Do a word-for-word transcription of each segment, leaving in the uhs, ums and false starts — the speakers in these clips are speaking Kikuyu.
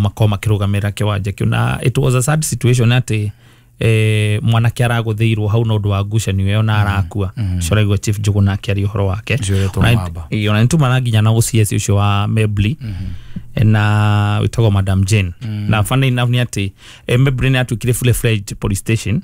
Makorwo makĩrũgamĩrĩra kĩwanja kĩu, na it was a sad situation atĩ eh, mwanake aragũthĩirwo hau na ũndũ wa ngucanio ĩyo na arakua. Ũcio ũraigua Chief Njũgũna akĩaria ũhoro wake. Ũcio ũretwo Ona- Mamba. Ĩĩ, ona nĩtumana nginya na O C S ũcio wa Mebli na wĩtagwo Madam Jane. Na funny enough nĩ atĩ eh, Mebli nĩ atuĩkire fully fledged police station,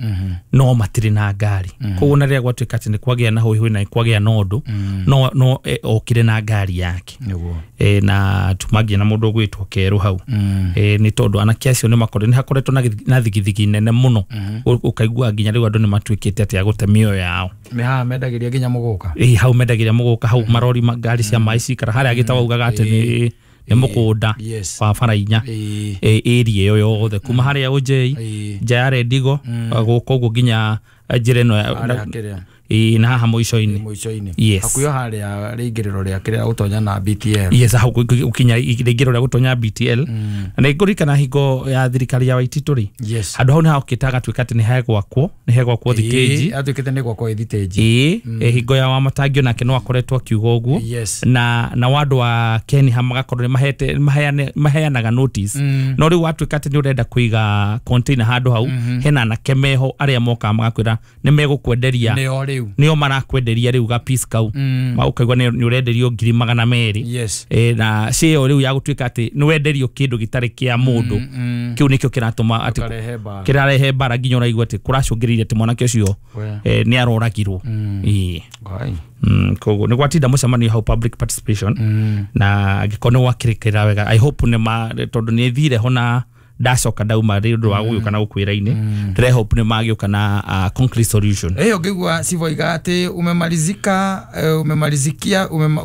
no matirĩ na ngari. Koguo na rĩrĩa gwatuĩka atĩ nĩ kwagĩa na hũihũi na nĩ kwagĩa na ũndũ, no no eh, okire na ngari yake. Nĩguo. e, na tuma nginya na mũndũ ũgwĩtwo Kerũ hau. Mm. e, nĩ tondũ anake acio nĩ makoretwo nĩ hakoretwo na gĩthi- na thigithigi nene mũno. Ũ- ũkaigua nginya rĩu andũ nĩ matuĩkĩte atĩ a gũte mĩoyo yao. Nĩ haha mendagĩria nginya mũgũka. Ĩ, hau mendagĩria mũgũka, hau marori ma- ngari cia maĩ cikara harĩa gĩtawa augaga atĩ nĩ nĩ mũgũnda Yes. wa bara inya. Ĩĩ. Ĩ, area ĩyo yothe kuma harĩa Ũnjei, Ĩĩ. nja ya Rendigo, gũka ũguo nginya njĩra ĩno ya- Harĩa kĩrĩa. Ĩ, na haha mũico-inĩ. Mũico-inĩ. Yes. Hakuhĩ o harĩa rĩingĩrĩro rĩa kĩrĩa gũtonya na B T L. Yes, hau gũkinya rĩingĩrĩro rĩa gũtonya B T L. Na nĩ ngũririkana hingo ya thirikari ya Waititũ rĩ, Yes. handũ hau nĩ hokĩte hagatuĩka atĩ nĩ hegwakwo nĩ hegwakwo thitĩnji. Ĩĩ, atuĩkĩte nĩ gwakwo ĩ thitĩnji. Ĩĩ, hingo ya Wamatangio nake no akoretwo akiuga ũguo. Yes. na na wandũ wa Keniha magakorwo nĩ mahete maheane- maheanaga notice, no rĩu watuĩka atĩ nĩ ũrenda kũiga container handũ hau, hena anake meho arĩa mokaga magakwĩra nĩ megũkwenderia. Nĩo rĩu. Nĩo marakwenderia rĩu ga piece kau. Mm. Ma ũkaigua nĩ nĩ ũrenderio ngiri magana merĩ. Yes. E, na cio rĩu ya gũtuĩka atĩ nĩ wenderio kĩndũ gĩtarĩ kĩa mũndũ, Mm. kĩu nĩkĩo kĩratũma atĩ Ũkarehe mbara. Kĩrarehe mbara, nginya ũraigua atĩ kũracũngĩrĩirie atĩ mwanake ũcio We. eh, nĩ aroragirwo. Ĩĩ. Ngai. Mm, koguo nĩ gwatinda mũcemanio hau, public participation, Mm. na angĩkorwo nĩ gwakĩrĩkĩra wega, I hope nĩ ma, tondũ nĩ thire ho na ndacoka ndauma nĩ ũndũ wa gũgĩũka na gũkwĩra-inĩ, ndĩre hope nĩ magĩũka na uh, concrete solution. Ĩyo ngĩigua civoiga atĩ umemalizika, eh, umemalizikia, umema,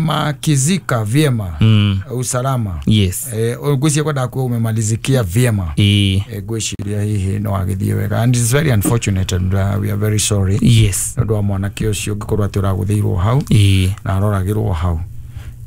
umemakizika vyema mm. usalama. Yes. Eh, ngwĩciria kwendaga kuga umemalizikia vyema. Ĩĩ. Eh, ngwĩciria hihi no agĩthiĩ wega, and it's very unfortunate and uh, we are very sorry yes nĩ ũndũ wa mwanake ũcio ũngĩkorwo atĩ ũragũthĩirwo hau Ĩĩ. na aroragĩrwo hau.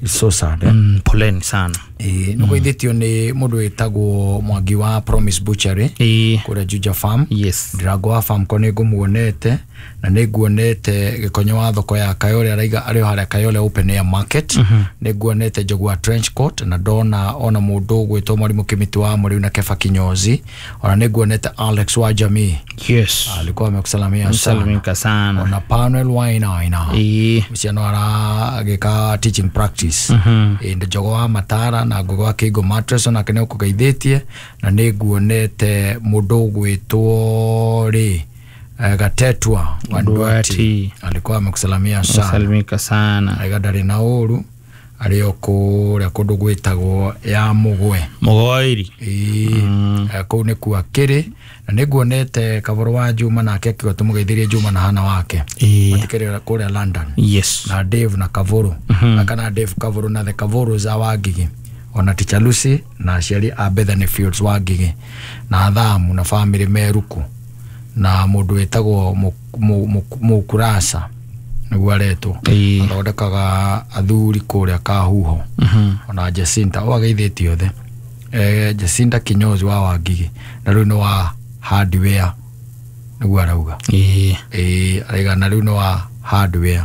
It's so sad, eh? Mm, poleni sana. Ĩĩ, nĩ kũithĩtio nĩ mũndũ wĩtagwo Mwangi wa Promise Butchery Ĩĩ. kũrĩa Juja Farm. Yes Ndirango wa Farmco nĩ ngũmuonete, na nĩ nguonete Gĩkonyo wa thoko ya Kayole, araiga arĩ o harĩa Kayole Open Air Market. Nĩ nguonete Njogu wa Trench Coat, na ndona ona mũndũ ũgwĩtwo Mwarimũ Kĩmĩtĩ wa Mũrĩu na Kefa Kinyozi. Ona nĩ nguonete Alex wa Jamii. Yes alikuwa amekusalamia sana. Salimika sana. Ona Panuel Wainaina Ĩĩ. ũcio no aragĩka teaching practice. Ĩĩ, Njogo wa Matara na Ngũgĩ wa Kĩngo Mattress onake nĩ ũkũgeithĩtie. Na nĩ nguonete mũndũ ũgwĩtwo rĩ eh, Gatetwa wa Ndwati. Ndwati. Alikuwa amekusalamia sana. Salimika sana. Aiga ndarĩ na ũru, arĩ o kũrĩa kũndũ gwĩtagwo ya Mũgwe. Mũgoiri. Ĩĩ, eh, kũu nĩkuo akĩrĩ. Na nĩ nguonete Kaboro wa Juma, nake akiuga tũmũgeithĩrie Juma na hana wake. Ĩĩ. Matikĩrĩ kũrĩa London. Yes na Dave na Kavuru, mm kana Dave Kavuru na the Kavuru za Wangigi, ona Teacher Lucy na aciari a Bethany Fields Wangigi, na Athamu na family Meruku, na mũndũ wĩtagwo Mu- Mu- Mu- Mukurasa nĩguo aretwo. Ĩĩ. Athondekaga athuri kũrĩa Kahuho. Mhm. Ona Jacinta o ageithĩtie othe, eh, Jacinta Kinyozi wa Wangigi, na rĩu nĩ wa hardware nĩguo arauga. Ĩĩ. Ĩĩ, araiga na rĩu nĩ wa hardware,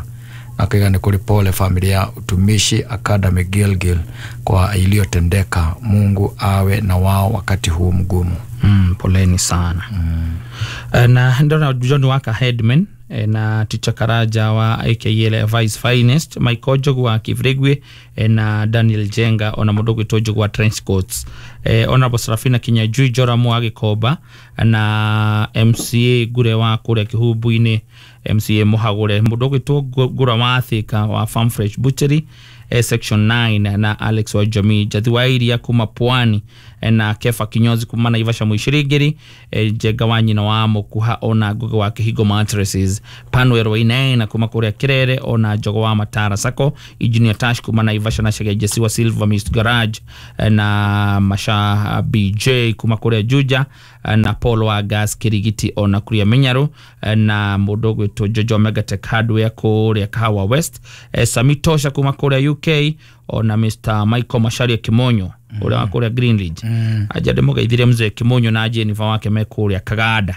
na akaiga nĩ kũrĩ pole familia ya Utumishi Academy Gilgil kwa iliyotendeka. Mungu awe na wao wakati huu mgumu. Mm, poleni sana mm. Na ndona John Waka headman, eh, na Teacher Karaja wa A K L Vice Finest, Michael Njogu wa Kivrigwe, eh, na Daniel Jenga, ona mũndũ ũgwĩtwo Njogu wa Trench Coats, eh, Honorable Serafina Kinyajui Joramu wa Gĩkomba, na M C A Ngure wa kũrĩa Kĩhumbu-inĩ, M C A Mũhagũre, mũndũ ũgwĩtwo Ngũra wa Thika wa Farm Fresh Butchery, eh, section nine, na Alex wa Jamii, Jathi wa Iria kuma Pwani, eh, na Kefa Kinyozi kuma Naivasha Mwicirigiri, eh, Njenga wa nyina wa Mũkuha, ona Ngugi wa Kĩhingo Mattresses, Panuel Wainaina kuma kũrĩa Kirere, ona Njogo wa Matara Sako, Engineer Tash kuma Naivasha, na Chege Jesi wa Silver Mist Garage, eh, na Masha B J kuma kũrĩa Juja, eh, na Paul wa Gas Kirigiti, ona kũrĩa Minyaru, eh, na mũndũ ũgwĩtwo Jojo Megatech Hardware kũrĩa Kahawa West, eh, Sami Tosha kuma kũrĩa U K, ona Mister Michael Macharia Kimonyo ũrĩa wa kũrĩa Greenridge. mm. Aja ndĩmũgeithirie mzee Kimonyo na Jennifer wake me kũrĩa Kaganda,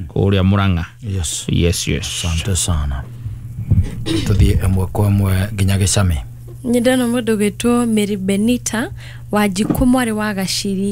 kũrĩa Murang'a. Yes. yes yes Asante sana. Tuthiĩ ĩmwe kwa ĩmwe nginya gĩcame. Nĩ ndona mũndũ gwĩtwo Mary Benita Wanjikũ, mwarĩ wa Gaciri.